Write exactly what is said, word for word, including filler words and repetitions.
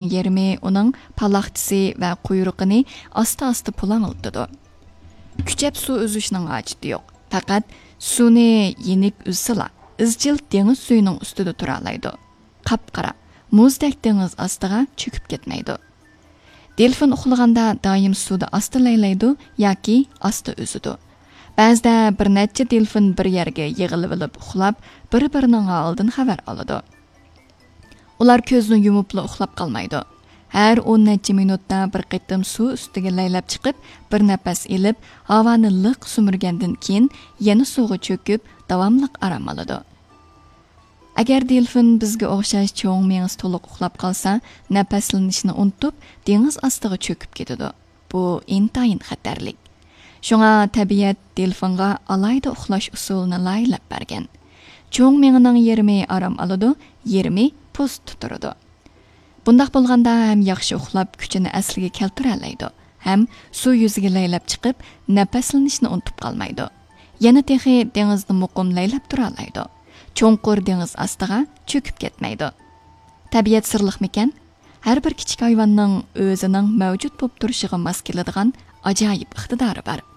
يېرىمى ئۇنىڭ پالاقچىسى ۋە قۇيرۇقىنى ئاستا-ئاستا پۇلاڭلىتىدۇ. كۈچەپ سۇ ئۈزۈشنىڭ ھاجىتى يوق. پەقەت سۇنى يېنىك ئۈزسىلا، ئىزچىل دېڭىز سۈيىنىڭ ئۈستىدە تۇرالايدۇ. قاپقارا، مۇزدەك دېڭىز ئاستىغا چۆكۈپ كەتمەيدۇ. دېلفىن ئۇخلىغاندا دائىم سۇدا ئاستا لەيلەيدۇ ياكى ئاستا ئۈزىدۇ. بەزىدە بىر نەچچە دېلفىن بىر يەرگە يىغىلىۋېلىپ ئۇخلاپ، بىر-بىرىنىڭ ھالىدىن خەۋەر ئالىدۇ. ئۇلار كۆزنى يۇمۇپلا ئۇخلاپ قالمايدۇ. ھەر ئون نەچچە مىنۇتتا بىر قېتىم سۇ ئۈستىگە لەيلەپ چىقىپ، بىر نەپەس ئېلىپ، ھاۋانى لىق سۈمۈرگەندىن كېيىن يەنە سۇغا چۆكۈپ، داۋاملىق ئارام ئالىدۇ. ئەگەر دېلفىن بىزگە ئوخشاش چوڭ مېڭىسى تولۇق ئۇخلاپ قالسا، نەپەسلىنىشنى ئۇنتۇپ، دېڭىز ئاستىغا چۆكۈپ كېتىدۇ. بۇ ئىنتايىن خەتەرلىك. شۇڭا تەبىئەت دېلفىنغا ئالاھىدە ئۇخلاش ئۇسۇلىنى لايىھەلەپ بەرگەن. چوڭ مېڭىنىڭ يېرىمى ئارام ئالىدۇ، يېرىمى پوزىتىۋ تۇرىدۇ. بۇنداق بولغاندا ھەم ياخشى ئۇخلاپ، كۈچىنى ئەسلىگە كەلتۈرەلەيدۇ، ھەم سۇ يۈزىگە لەيلەپ چىقىپ، نەپەسلىنىشنى ئۇنتۇپ قالمايدۇ. يەنە تېخى دېڭىزدا مۇقىم لەيلەپ تۇرالايدۇ. چوڭقۇر دېڭىز ئاستىغا چۆكۈپ كەتمەيدۇ. تەبىئەت سىرلىقمىكەن؟ ھەر بىر كىچىك ھايۋاننىڭ ئۆزىنىڭ مەۋجۇت بولۇپ تۇرۇشىغا ماس كېلىدىغان ئاجايىپ ئىقتىدارى بار.